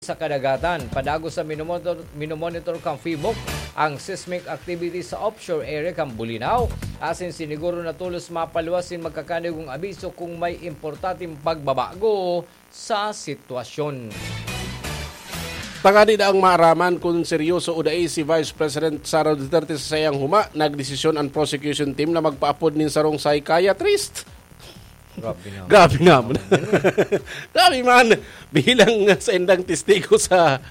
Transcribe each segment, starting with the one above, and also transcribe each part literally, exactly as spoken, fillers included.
sa kadagatan. Padagos sa minomonitor, minomonitor kan PHIVOLCS ang seismic activity sa offshore area kan Bolinao, asin siniguro na tolos mapaluwas nin magkakanigong abiso kung may importanteng pagbabago sa sitwasyon. Tangani na ang maaraman kun seryoso o dai si Vice President Sara Duterte sa saiyang huma, nagdesisyon an prosecution team na magpaapod nin sarong psychiatrist. Grabe naman. Grabe naman. Grabe man. Bilang sa indang testigo sa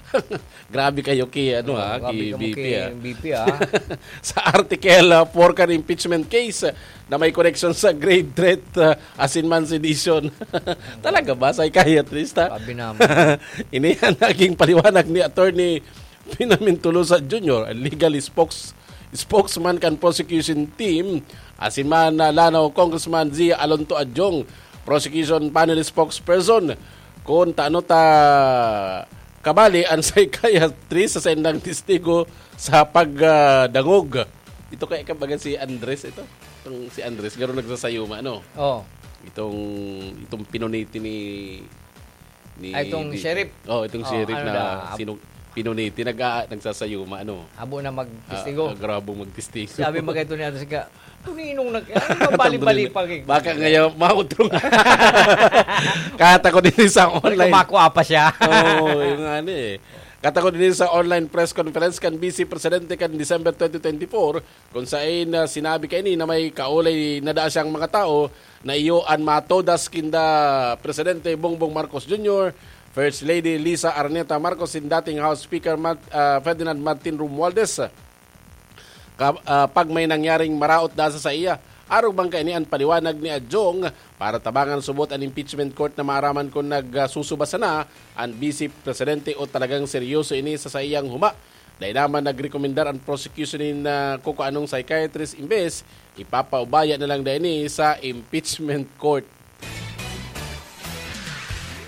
grabe kayo ki ano ha, ki B P ha. B P ha. Sa article uh, four kan impeachment case uh, na may connection sa grave threat uh, asin man sedition. Talaga ba psychiatrist ha? Grabe naman. Ini ang naging paliwanag ni Attorney Pinamin Tolosa Junior, ang legal spokes spokesman kan prosecution team, asin man na Lanao Congressman Zia Alonto Adjong, prosecution panel spokesperson, kun tano ta kabali an psychiatrist sa saindang testigo sa pagdangog. Ito kaya kabaga si Andres ito? Itong si Andres, garo nagsasayuma, no? Oh. Itong, itong pinuniti ni ni Ay, itong D J. Sheriff. Oh, itong Oh, sheriff ano na na, ab- sinu- pinuniti, nag nagsasayuma, ano? Abo na magtestigo. Ah, grabo magtestigo. Sabi mo kay Tony Atos ka, "Tuninong nag-, ano, bali-bali pa kay-" Baka ngayon, mautro nga. Kata ko din sa Ay, online. Kumakwa pa siya. Oo, yung ano eh. Kata ko din sa online press conference kan Vice Presidente kan December twenty twenty-four, kung sain na sinabi kaini na may kaulay na daa siyang mga tao na iyo an matodas kinda Presidente Bongbong Marcos Junior, First Lady Liza Araneta Marcos, sin dating House Speaker Mat-, ah, Ferdinand Martin Romualdez. Ka-, ah, pag may nangyaring maraot da sa saiya, arog bang kaini an paliwanag ni Adjong para tabangan subot an impeachment court na maaraman kun nagsusuba sana an Vice Presidente o talagang seryoso ini sa saiyang huma. Dai naman nagrekomendar an prosecution nin, ah, kukuanong psychiatrist, imbes ipapaubaya na lang daini sa impeachment court.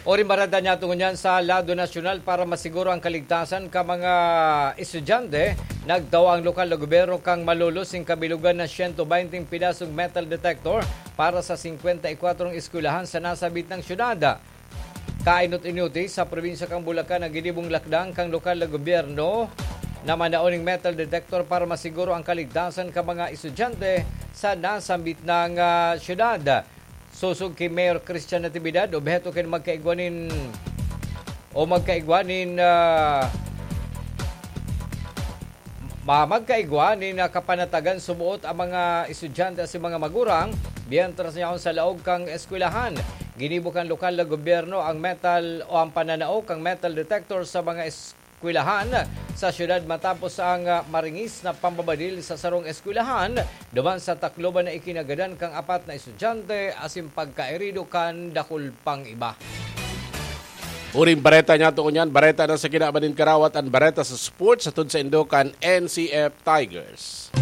Orin bareta niya tungo niyan sa lado nasyonal para masiguro ang kaligtasan ka mga estudyante. Nagtaw ang lokal na gobyerno kang malulos ning kabilugan na siyento baynte pedasong metal detector para sa singkwenta y kwatro eskwelahan sa nasabit ng syudad. Kainot-inoti sa probinsya kan Bulacan ang ginibong lakdang kan lokal na gobyerno na manao ning metal detector para masiguro ang kaligtasan kan mga estudyante sa nasambit na, ah, syudad. Sosog ki Mayor Christian Natividad, obheto kan magkaigwa nin, o magkaigwa nin, ah, Ma-, magkaigwa nin, ah, kapanatagan sumuot ang mga estudyante asin mga magurang, mientras yaon sa laog kan eskwelahan. Ginibo kan lokal na gobyerno ang metal o ang pananao kan metal detector sa mga eskwelahan sa syudad matapos ang, ah, maringis na pambabadil sa sarong eskwelahan duman sa Tacloban na ikinagadan kan apat na estudyante asin pagkaherido kan dakul pang iba. Uring bareta niya to ngunyan, bareta na sa kinaban nin karawat, an bareta sa sports, hatod saindo kan N C F Tigers.